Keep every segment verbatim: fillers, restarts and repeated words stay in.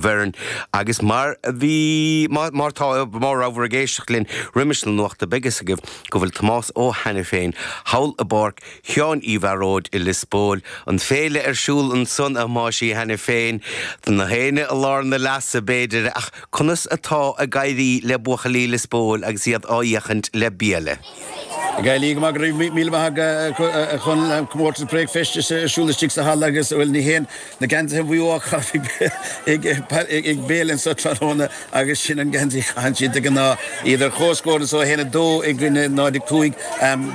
bhfoireann agus mar bhí mar tá mar ábhar ag éisteacht linn roimis na nuachta beidh a fhios agaibh go bhfuil Tomás Ó Hainiféin thall i bPáirc Sheáin Uí Bhearóid i Lios Póil an féile ar siúl ansan a Thomáis Uí Hainiféin na héinne i lár na leasa b'fhéidir ach conas atá ag éirí le buachaillí Lios Póil agus iad á fhéachaint le Béile. Gailí go mí chun comórtas bricfeasta siúl istigh sa halla agus bhfuil ní héan na geansaithe ag Béile anseo tráthnóna agus sin an geansaí a chaitheann siad de ghnáth iad ar comhscór anseo a haon a dó i gcoinne náid a cúig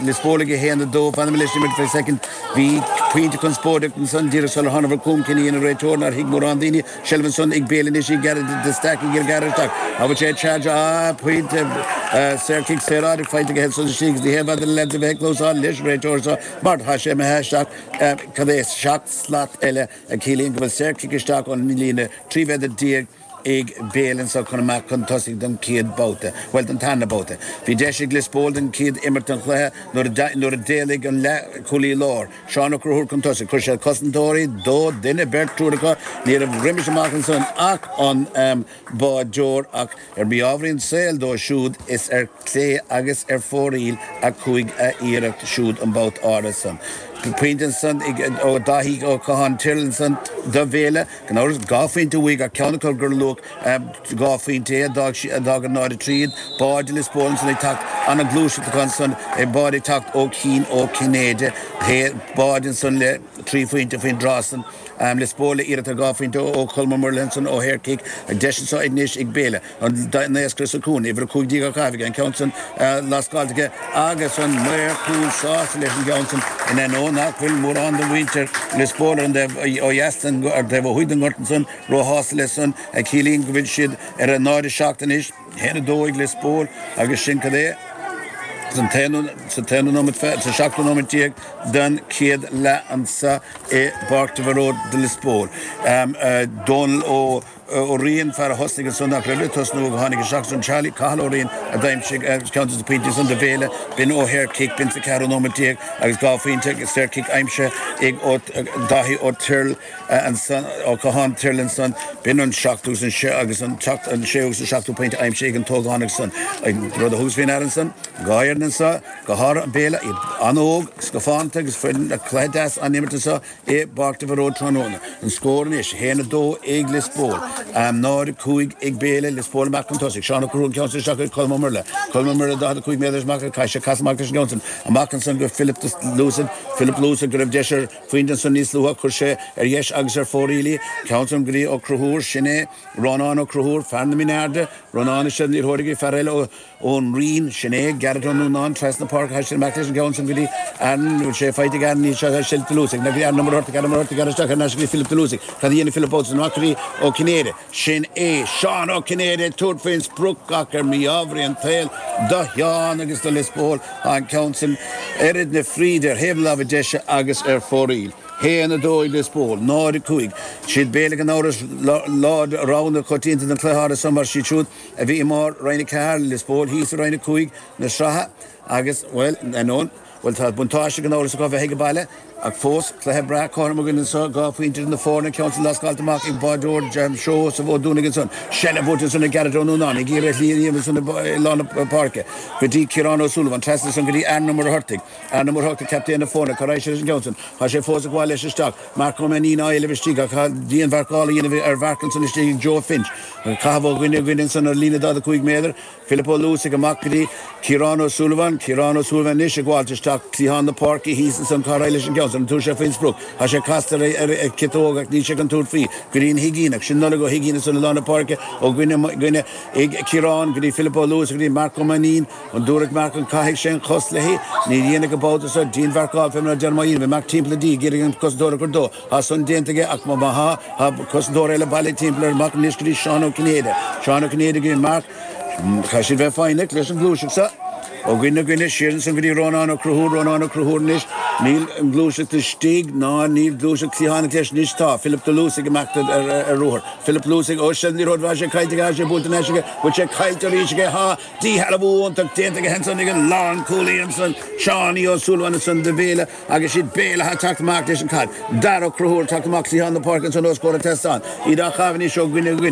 Lios Póil ag a haon a dó fanfaidh mé leis an imirt second bhí pointe conspóideach ansan díreach sular tháinig chugam cinneadh an réiteoir nár thuig mórán daoine seilbh ansan ag Béile anois ag Gareth de Stack ag gearradh isteach a bhfuil sé charge á pointe saorchic saoráid faighte aige ansan istigh ní hé le a bheith clósáil leis réiteoir seo mar tá sé imithe isteach cad é seacht slat eile a chiallaíonn go bhfuil saorchic isteach ón líne trí mhéadar déag ag Béile anseo chun amach chun tosaigh don chéad babhta, well don tarna babhta. Bhí deis ag Lios Póil den chéad imirt an chluiche nuair a d'éalaigh an leathchúlaí láir. Seán Ó Conchúir chun tosaigh, chuir sé cosantóirí dó duine beirt triúr acu ní raibh roimis amach ansan ach an um, báideoir ach ar mí-ádh an tsaoil dó siúd is ar clé agus ar fóraoil a chuaigh a iarracht siúd an babhta áirithe san. Pointe ansan ó Daithí Ó Catháin Tyrrell ansan do Bhéile gan dhá phointe uaidh ach ceann acu gur luach dhá phointe é d'fhág an náid tríd, báide Lios Póil ansan ag teacht an ghluaiseacht ansan ag bád ag teacht ó Cian Ó Cinnéide bád ansan le trí phointe faoin drásan. Um, Lios Póil le iarracht dhá phointe ó Cholm Ó Muirleann ó shaorchic ag deis anseo anois ag Béile an naoscaire sa chúinne, uimhir a cúig déag á caitheamh an ceann san lascáilte agus an maor cúil sásta leis an gceann san in ainneoin nach bhfuil mórán de mhuintir Lios Póil ar an dtaobh ó dheas ar taobh ó thuaidh den ngort ansan róshásta leis san a chiallaíonn go bhfuil siad ar a náid a seacht anois haon a dó ag Lios Póil agus sin cad é san sa t-aonú nóiméad sa seachtú nóiméad déag den chéad leath anseo i bPáirc de Bharróid de Lios Póil. Um, uh, Dónal Ó ó Riain fear a thosnaigh ansan nach raibh tosnú go tháinig isteach an Charlie Cathal Ó Riain a d'aimsigh ceann de na pointí san do Bhéile b'in ó shaorchic b'in sa ceathrú nóiméad déag agus dhá phointe saorchic aimsithe ag Daithí Ó Tuirl ansan ó Catháin Tyrrell ansan b'in an seachtú an sé agus an an séú an seachtú pointe aimsithe ag an tógánach san rud a thugas faoi deara ansan dhá fhoireann anseo go háirithe an Béile an-óg scafánta agus foireann cluiche deas an imirt anseo i bPáirc de Bharróid tráthnóna. An scór anois haon a dó ag Lios Póil. Um, náid cúig ag Béile Lios Póil amach chun tosaigh. Seán Ó ceann isteach ag Colm Ó Muirle. Colm Ó Muirle daichead cúig méadar amach caithfidh sé casadh amach leis an gceann amach ansan go Philip Lucid Philip Lucid go raibh deis ar phointe ansan níos luaithe chuir sé ar dheis agus ar fóraoil í ceann san go dtí Ó Conchúir sin é Rónán Ó Conchúir fear na Minearda Rónán se níorthóige fear eile ón Rinn sin é Garrett Ó Núnáin trasna páirce tha sé amach leis an gceann san go dtí an sé faighte an ní se Philip de Lúsaigh na an number an number isteach Philip de Lúsaigh Cad dhéanfaidh Philip Ó amach go dtí Ó Cinnéide sin é Seán Ó Cinnéide tabhairt faoin sprioc ach ar mí-ádh an tsaoil do Sheán agus do Lios Póil an ceann san oiread na fríde ar thaobh láimhe deise agus ar fóraoil. Haon a dó ag Lios Póil, náid cúig, siad Béile gan amhras lá rogha coitianta den chluiche san mar siad siúd a bhí i mbarr Roinn a ceathair Lios Póil thíos i Roinn a cúig na sraithe agus well anón Well tá buntáiste gan amhras acu bheith ag baile ach fós cluiche breá cothrom againn anseo dhá phointe na foirne ceann san lascáilte amach ag báideoir Jam Seosamh Ó Dúnaigh ansan. Seilbh buaite ansan ag Garrett Ó Núnáin ag iarraidh líon ansan i lár na páirce. Go dtí Ciarán Ó Súilleabháin trasna ansan go dtí Aaron Ó Muircheartaigh. Aaron Ó Muircheartaigh captaen na foirne cá raibh sé leis an gceann san. Tá sé fós ag gabháil leis isteach. Marc Ó Mainnín á éileamh istigh ach tá dianmharcáil a dhéanamh ar Mharc ansan istigh ag Joe Finch. Caitheamh ó dhuine go duine ansan ar líne daichead a cúig méadar. Philip Ó Luasaigh amach go dtí Ciarán Ó Súilleabháin, Ciarán Ó Súilleabháin anois ag gabháilt isteach cliathán na páirce thíos ansan cá raibh leis an gceann san, an tabharfaidh sé faoin sprioc. Tá sé casta ar ar ciotóg ach níl sé chun tabhairt faoi go dtí an Huigínneach. Sin Nollaig Ó hUigínn ansan i lár na páirce ó dhuine dhuine ag Ciarán go dtí Philip Ó Luasaigh go dtí Marc Ó Mainnín. An dtabharfaidh Marc an caithfidh sé an chos léi. Ní dhéanfaidh an babhta seo dianmharcáil fé mar a deir Maigh Bhí Marc timpeall a dí ag iarraidh an cosantóir a chur dó. Tá san déanta aige ach má tá tá cosantóir eile bailithe timpeall ar Marc anois go dtí Seán Ó Cinnéide. Seán Ó Cinnéide go dtí Marc. Caithfidh siad bheith foighneach leis an ghluaiseacht seo. Ó dhuine go duine siar ansan go dtí Rónán Ó Conchúir, Rónán Ó Conchúir anois. Níl an ghluaiseacht istigh ná níl gluaiseacht cliathánach leis anois tá Philip de Lúsaigh amach ar ar ruathar. Philip Lúsaigh ó sin ní raibh sé caillte aige sé buailte anois aige, bhfuil sé caillte arís aige tá díshealbhú iontach déanta aige ansan ag an lánchúlaí ansan Seánie Ó Súilleabháin ansan do Bhéile agus siad Béile atá teacht amach leis an caid. Dara Ó Conchúir teacht amach cliathán na páirce ansan os comhair an tseastáin. Iad á chaitheamh anois ó dhuine go duine.